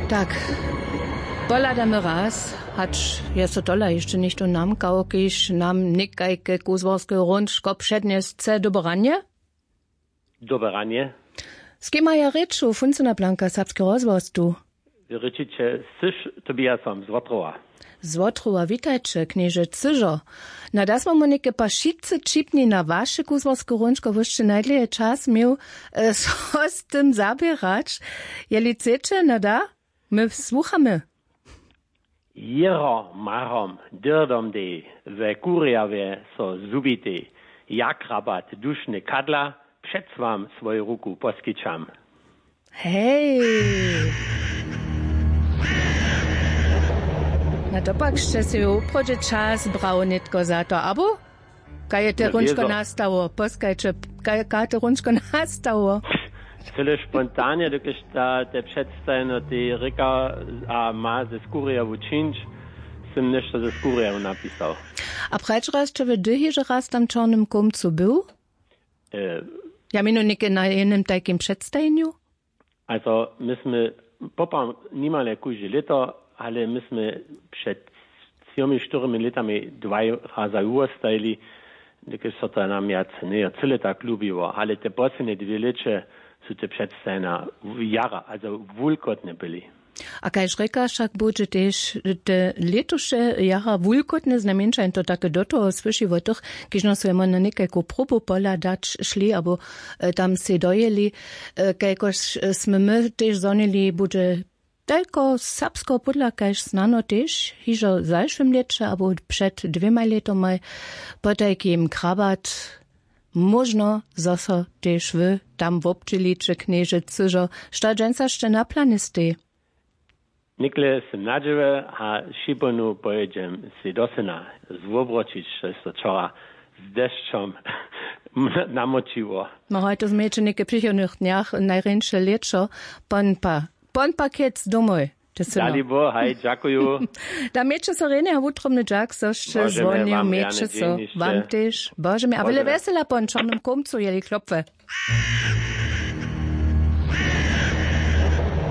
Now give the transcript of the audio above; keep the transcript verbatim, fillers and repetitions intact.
Tak, pohladamy raz, hač je so tola hišće něchtó namkał, kiž nam někajke kuzłarske hrónčko přednjesce. Dobre ranje. Dobre ranje. Z kim maja rěču, funcyna blanka, serbski rozhłos tu. Rěčiće syš, tobiasom z wotrowa. Z wotrowa witajće, knježe cyžo. Na da smo mu něke pa wšitcy ćipni na waše kuzłarske hrónčko wósće najdlěje čas měł, e, so z tym zaběrać. Jeli chceće, na da, my słuchamy. Jěro marom dyrdom dej we kurjawje so zhubitej, jak rabat dušny kadla přec wam swoju ruku poskićam. Hej. Na to pak sće sej wuprawdźe čas brał nětko za to, abo? Kaj je te hrónčko nastało? Poskajće, kaj kaj te hrónčko nastało? Cyle spontanje, dokelž ta te předstajeno tej rěka a ma ze skurjewu čińć, sym něšto ze skurjewu napisał. A prajć raz će wy dyhi, że raz tam w čornym kołmcu był? Ja měnu něke na jenym tajkim předstajenju. Also my smy poprawom nimale kóžde lěto, ale my smy před třomi štyrmi lětami dwaj raza wuwostajili, dokelž so to nam wjac njeje cyle tak lubiło, ale te poslednje dwě lěće su te předstajena jara, also wulkotne byli. A kaž rěkaš, wšak budźe tež te lětuše jara wulkotne, znajmjeńša jen to take do toho słyši wot tych, kiž nas so jemo na někajku próbu pohladać šli abo tam sej dojěli. Kajkož smy my tež zhonili, budźe tajko serbskeho pódla kaž snano tež hižo w zašłym lěće abo před dwěmaj lětomaj potajkim krabat. Móžno zo so tež wy tam wobdźěliće, knježe cyžo. Što dźensa sće na planje stej? Někle sym na dźěłe a šibonu pojědźem sej do syna zwobročić, štož so wčora z dešćom namočiło. No haj, to změjeće něke w přichodnych dnjach, najrjeńše lěćo. Pon pa pon pakec domoj. Dali bo haj, dźakuju. Da měće so rjenje a wutrobny dźak zo sće zwonił. Měće so wam tež. Bože mi a wjele wjesela pon čornym kołmcu jeli klopwe.